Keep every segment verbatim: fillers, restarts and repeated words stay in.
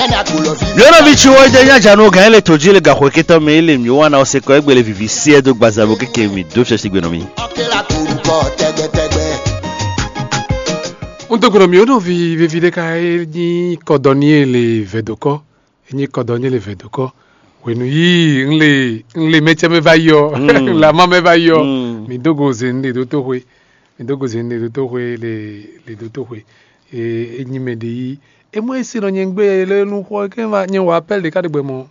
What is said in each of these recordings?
Yɔnɔ mi tsi wɔ jɛ nya janu gan ele to ji le gaxɔ ketɔ mi ele mi wana ose kɔ egbele vivi si edo gbaza bo keke mi do fiasi gbe nɔ mi. Un to gblɔ mi o nɔ vi vevi ɖe ka e nyi kɔdɔniele vɛdokɔ, e nyi kɔdɔniele vɛdokɔ. Wenu yi un le un le mɛtsɛ mɛ va yi ɔ, un le ama mɛ va yi ɔ. Mi do go ze un le do to xwe, mi do go ze un le do to xwe le le do to xwe. E e nyi mɛ ɖe yi. Emu e si nɔ nyɛ gbe le nu xɔ ke va nyɛ wa appel ɖeka ɖe gbɛ mɔ.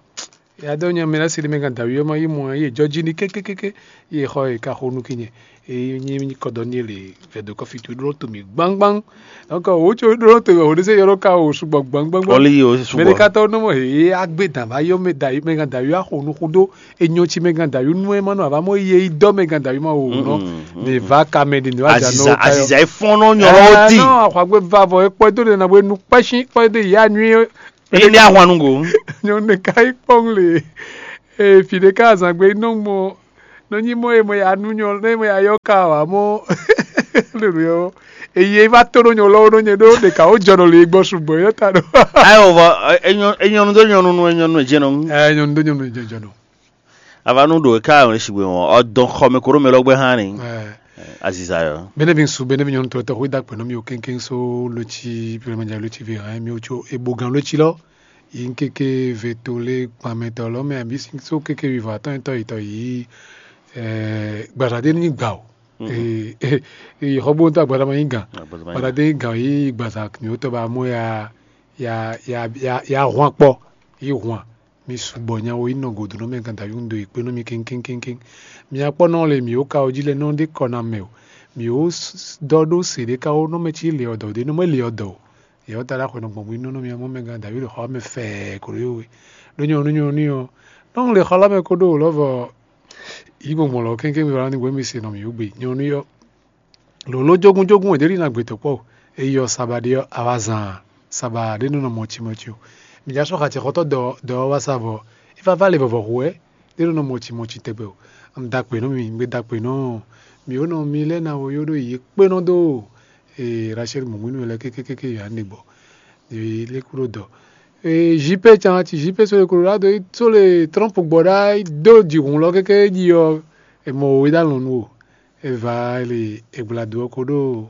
Ya dɔ nyɛ mɛ lɛ si ɖe mɛ gan dawi ɔmɔ yi mɔ ye jɔ ji ni kékékéké. Ye xɔ ye ka xo nu ki nyɛ. E nyi kɔdɔ ni le vɛ do kɔfi tu ɖo to mi gbangban. Donc o tso ɖo to o de se yɔrɔ ka o sugbɔ gbangban. Ɔli yi o sugbɔ. Mɛ ɖeka tɔ nɔ mɔ he agbe dan va yɔ mɛ dawi mɛ gan dawi axo nu xo do. Enyɔ tsi mɛ gan dawi nu ɛ ma nɔ ava mɔ ye yi dɔ mɛ gan dawi ma o nɔ. Ne va ka mɛ de ne va dza nɔ aziza aziza efɔn nɔ nyɔ lɔ di. Nɔ axɔ agbe va vɔ ekpɔ do de na bo enu kpɛsin kpɔ de ya nyui. Ene ahwan nugo. Nyɔnu ɖeka yi kpɔn le. Ee fi ɖeka azangbe nɔ mɔ nɔ nyi mɔ e mɔ ya nu nyɔ ne mɔ ya yɔ ka wa mɔ. Lelu yɔ eye va to ɖo nyɔ lɔwo ɖo nyɛ ɖo ɖeka wo jɔ nɔ le gbɔ sugbɔ yɔ ta ɖo. Ayo vɔ enyɔ enyɔnu do nyɔnu nu enyɔnu edze nɔ. Ɛ nyɔnu do nyɔnu edze jɔ nɔ. Ava nu ɖo e ka wɛ sigbe wɔn ɔdɔn xɔ mɛ koro mɛ lɔ gbɛ hã ni. Aziza yɔ. Bene bi su bene bi nyɔnu tɔtɔ xwe da kpɛ nɔ mi o kenken so lotsi pɛlɛmɛdza lotsi vi hã mi o tso ebo gan lotsi lɔ yi keke ve to le kpamɛtɔ lɔ mɛ abi so keke vi vɔ atɔn etɔ yitɔ yi. Gbazade ni gba o. Xɔ bo ntɔ agbada ma yi gan. Gbazade ni gan yi gbaza mi o tɔ ba mo ya ya ya ya ya hwan kpɔ yi hwan. Mi sugbɔ nya wo yi nɔ godo nɔ mɛ gan davi un do yi kpe nɔ mi kenkenkenken. Mi akpɔ nɔ le mi wo ka o ji lɛ nɔ de kɔ na mɛ o. Mi wo dɔ ɖo se ɖe ka wo nɔ mɛ ci le ɔdɔ de nɔ mɛ le ɔdɔ o. Yɛ wo ta ɖe axɔ nɔ gbɔn bu nɔ nɔ mi mɔ mɛ gan davi le xɔ mɛ fɛ ko ɖo yo we. Ɖo nyɔ nu nyɔ nu yɔ. Nɔ le xɔ la mɛ ko ɖo lɔvɔ yi gbɔngbɔn lɔ kenken mi va ni gbɔ mi se nɔ mi wo gbe nyɔ nu yɔ. Lǒló jógúnjógún wɛ ɖě ɖi ná gbětɔ́ kpɔ́ o. É yí ɔ́, saba ɖé ɔ́, a wá zan saba ɖé nɔ nɔ mɔci mɔci o. Mǐ já sɔ́ xacɛ xɔtɔ́ dɔ dɔ ɔ́ wá sá vɔ é vá vá lě vɔvɔ hu wɛ ɖé nɔ nɔ mɔci mɔci tɛgbɛ o. Un da kpě nú mi, un gbe da kpě nú mi ó nɔ mi lɛ́ɛ ná wo yó ɖó yě kpé nɔ dó Rachel mɔ̌mɔ́ nú lɛ́ɛ kékékéké yě wá nɛ gbɔ. Yě lɛ́ kú ɖó dɔ. Jipé can ci jipé sóle Colorado sóle Trump gbɔ ɖá dó jǐhun lɔ kéké jí ɔ́, è mɔ wǒ é ɖó alɔ̌ nú o. Eva li egbla do ɔ́ ko ɖo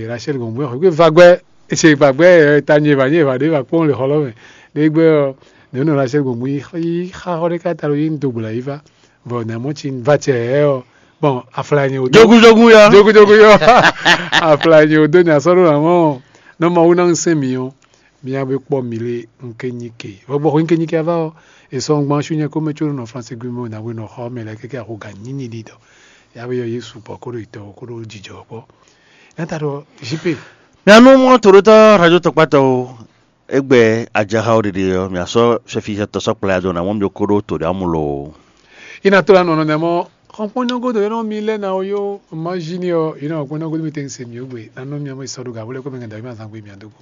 Rachel gbɔn bɔ xwé va gbɛ ese va gbɛ ta nyɛ va nyɛ va ɖe va kpɔn le xɔlɔ mɛ ɖe gbɛ ɔ ne nɔ Rachel gbɔn bɔ yi xa xɔ ɖe ka ta lo yi do gbla yi va vɔ na mɔ tsi va tsɛ ɛ ɔ bɔn afla nyɛ o jogu jogu yɔ jogu jogu yɔ afla nyɛ o do nya sɔ ɖo na mɔ nɔ ma wu na ŋsɛn mi ɔ mía be kpɔ mi le ŋke nyi ke vɔ gbɔ xɔ ŋke nyi ke ava ɔ esɔ ŋgban su nyɛ ko mɛ tso nɔ France gbe mɛ o na we nɔ xɔ mɛ lɛ keke axo ga nyinyi ɖi dɔ ya be yɔ Yesu kpɔ koɖo yitɔ koɖo jijɔ kpɔ nata ɖɔ jipe. Mianu mɔ toɖotɔ radio tɔkpatɔwo egbe ajaxawo ɖiɖi ɔ miasɔ sɛfi tɔ sɔ kplaya dɔ na mɔ mi koɖo to ɖe amu lo. Ina to la nɔ nɔ nɛ mɔ xɔnkpɔn nyɔgodo yɛ nɔ mi lɛ na o yo ma zi ni ɔ ina xɔnkpɔn nyɔgodo mi te n se mi o gbe na nɔ mi ɔ mi sɔ do ga wole ko mi ŋa da mi azan gbe mi adogo.